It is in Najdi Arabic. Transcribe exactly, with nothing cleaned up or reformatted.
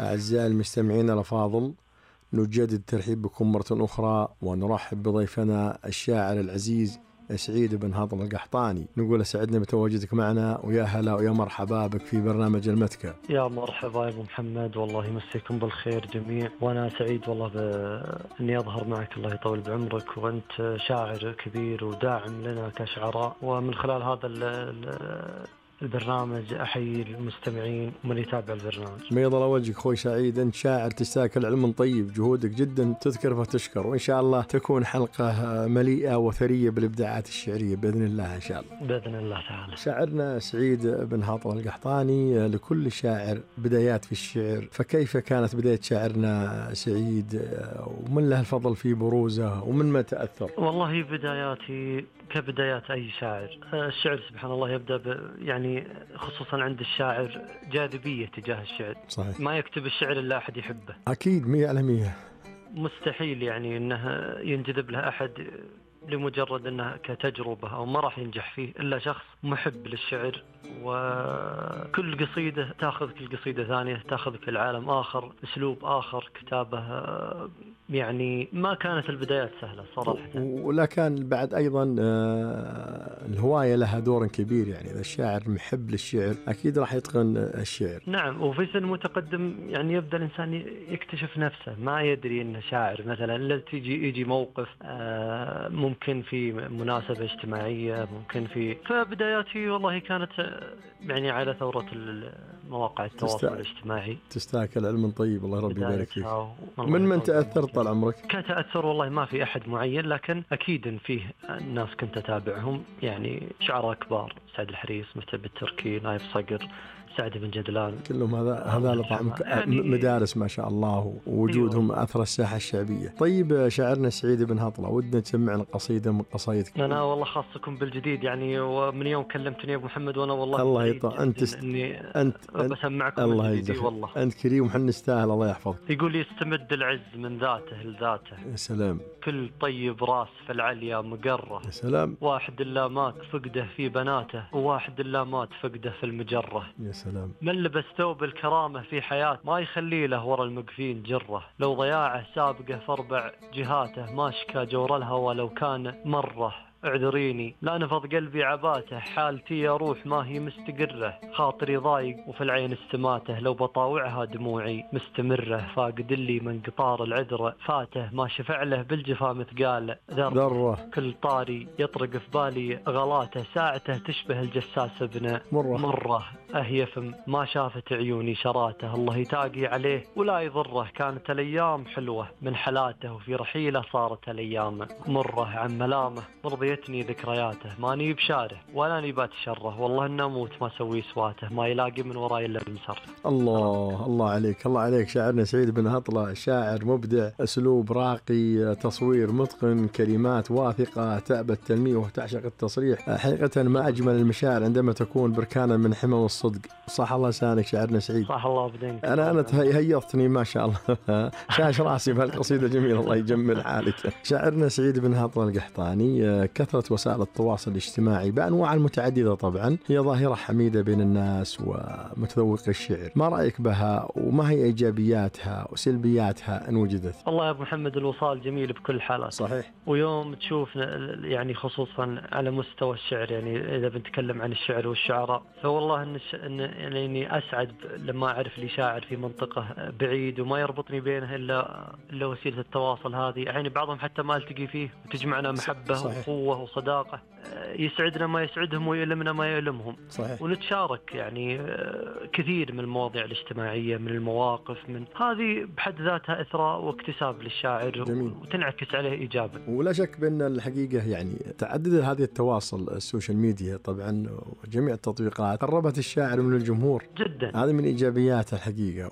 أعزائي المستمعين الأفاضل، نجدد الترحيب بكم مرة أخرى ونرحب بضيفنا الشاعر العزيز سعيد بن هضلة القحطاني. نقول سعدنا بتواجدك معنا، ويا هلا ويا مرحبا بك في برنامج المتكة. يا مرحبا يا أبو محمد، والله يمسيكم بالخير جميع، وأنا سعيد والله بإني أظهر معك، الله يطول بعمرك، وأنت شاعر كبير وداعم لنا كشعراء، ومن خلال هذا ال ال البرنامج أحيي المستمعين ومن يتابع البرنامج. بيض الله وجهك أخوي سعيد، أنت شاعر تستاهل علم طيب، جهودك جدا تذكر فتشكر، وإن شاء الله تكون حلقة مليئة وثرية بالإبداعات الشعرية بإذن الله إن شاء الله. بإذن الله تعالى. شاعرنا سعيد بن هضلة القحطاني، لكل شاعر بدايات في الشعر، فكيف كانت بداية شاعرنا سعيد، ومن له الفضل في بروزه، ومن ما تأثر؟ والله بداياتي كبدايات أي شاعر، الشعر سبحان الله يبدأ ب يعني خصوصا عند الشاعر جاذبية تجاه الشعر. صحيح. ما يكتب الشعر إلا أحد يحبه. أكيد مية على مية. مستحيل يعني أنه ينجذب له أحد لمجرد أنه كتجربة، أو ما راح ينجح فيه إلا شخص محب للشعر، وكل قصيدة تأخذك القصيدة ثانية، تأخذك العالم آخر، أسلوب آخر، كتابة يعني ما كانت البدايات سهلة صراحة. ولا كان بعد أيضا الهواية لها دور كبير، يعني إذا الشاعر محب للشعر أكيد راح يتقن الشعر. نعم، وفي سن متقدم يعني يبدأ الإنسان يكتشف نفسه، ما يدري إنه شاعر مثلا، إلا تيجي يجي موقف ممكن في مناسبة اجتماعية، ممكن في فبداياتي والله كانت يعني على ثورة مواقع التواصل تست... الاجتماعي. تستاكل علم طيب، الله ربي يبارك فيك. من من من تأثر طال عمرك؟ كتأثر والله ما في أحد معين، لكن أكيد إن فيه الناس كنت أتابعهم، يعني شعراء كبار، سعد الحريص، متعب التركي، نايف صقر، سعد بن جدلان، كلهم هذا هذا طعم يعني مدارس ما شاء الله، ووجودهم أثر الساحة الشعبية. طيب شاعرنا سعيد بن هضلة، ودنا تسمعنا قصيدة من قصايدك. أنا والله خاصكم بالجديد يعني، ومن يوم كلمتني يا أبو محمد وأنا والله الله يطول. أنت است... إني أنت بسمعكم الله الجديد والله. أنت كريم وحن نستاهل، الله يحفظك. يقول يستمد العز من ذاته لذاته. يا سلام. كل طيب راس في العليا مقره. يا سلام. واحد إلا مات فقده في بناته، وواحد إلا مات فقده في المجرة. يا سلام. من لبس ثوب الكرامة في حياته، ما يخلي له ورا المقفين جره. لو ضياعه سابقه في أربع جهاته، ما شكى جور الهوى لو كان مره. اعذريني لا نفض قلبي عباته، حالتي يا روح ما هي مستقرة. خاطري ضايق وفي العين استماته، لو بطاوعها دموعي مستمرة. فاقد اللي من قطار العذر فاته، ما شفع له بالجفا مثقال ذرة. كل طاري يطرق في بالي غلاته، ساعته تشبه الجساس ابن مرة, مرة. أهيفم ما شافت عيوني شراته، الله يتاقي عليه ولا يضره. كانت الأيام حلوة من حلاته، وفي رحيله صارت الأيام مرة. عن ملامه مرضيتني ذكرياته، ماني بشاره ولا نبات شره. والله إن أموت ما سوي سواته، ما يلاقي من وراي إلا بنصر. الله الله عليك، الله عليك شاعرنا سعيد بن هضلة، شاعر مبدع، أسلوب راقي، تصوير متقن، كلمات واثقة، تأبى التلميح وتعشق التصريح. حقيقة ما أجمل المشاعر عندما تكون بركانا من حمم الصدق. صح الله لسانك شاعرنا سعيد. صح الله بدينك. أنا أنا هيضتني ما شاء الله شاش راسي بهالقصيدة جميلة، الله يجمل حالك. شاعرنا سعيد بن هضلة القحطاني، كثرة وسائل التواصل الاجتماعي بأنواع المتعددة طبعا هي ظاهرة حميدة بين الناس ومتذوق الشعر، ما رأيك بها، وما هي إيجابياتها وسلبياتها إن وجدت؟ والله يا أبو محمد الوصال جميل بكل حالات. صحيح. ويوم تشوف يعني خصوصا على مستوى الشعر، يعني إذا بنتكلم عن الشعر والشعراء، فوالله إن, إن يعني إني أسعد لما أعرف لي شاعر في منطقة بعيد وما يربطني بينه إلا إلا وسيلة التواصل هذه. يعني بعضهم حتى ما التقي فيه وتجمعنا محبة صحيح. وقوة وصداقة، يسعدنا ما يسعدهم ويؤلمنا ما يؤلمهم. صحيح. ونتشارك يعني كثير من المواضيع الاجتماعية، من المواقف، من هذه بحد ذاتها إثراء واكتساب للشاعر. جميل. وتنعكس عليه إيجابا. ولا شك بأن الحقيقة يعني تعدد هذه التواصل السوشيال ميديا طبعا وجميع التطبيقات قربت الشاعر من الجمهور جدا، هذه من إيجابيات الحقيقة.